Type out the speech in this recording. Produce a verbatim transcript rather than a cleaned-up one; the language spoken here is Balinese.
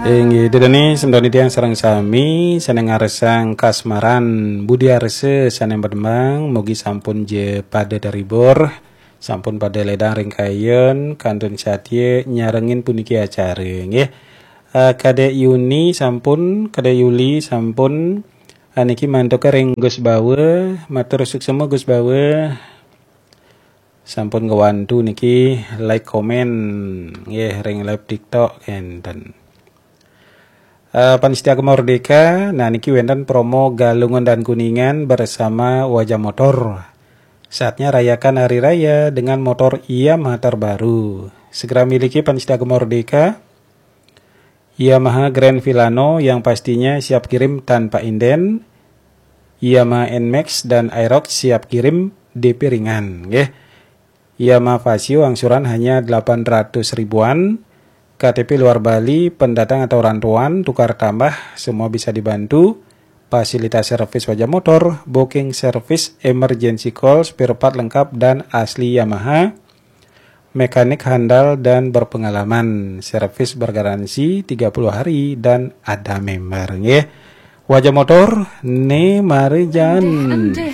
Inggih, ida dané semeton titiang sareng sami sané ngarsang kasmaran budi arsa sané mademang, mugi sampun ja pada terhibur, sampun pada ledang ring kayun, kantun satia nyarengin puniki acara, nggih. Eh, Kadek Yuni sampun, Kadek Yuli sampun, eh, niki mantuka ring Gus Bawa, matur suksma Gus Bawa. Sampun ngwantu niki like komen nggih ring live TikTok enten. Eh, Pan Setia Merdeka, nah niki wenten promo Galungan dan Kuningan bersama Wajah Motor. Saatnya rayakan hari raya dengan motor Yamaha terbaru. Segera miliki Pan Setia Merdeka, Yamaha Grand Filano yang pastinya siap kirim tanpa inden, Yamaha Nmax dan Aerox siap kirim D P ringan, nggih. Yamaha Fazzio angsuran hanya delapan ratus ribuan, K T P luar Bali, pendatang atau rantauan, tukar tambah, semua bisa dibantu. Fasilitas servis Wajah Motor, booking service, emergency call, spare part lengkap dan asli Yamaha. Mekanik handal dan berpengalaman, servis bergaransi tiga puluh hari dan ada member, nggih. Wajah Motor, né mari jan.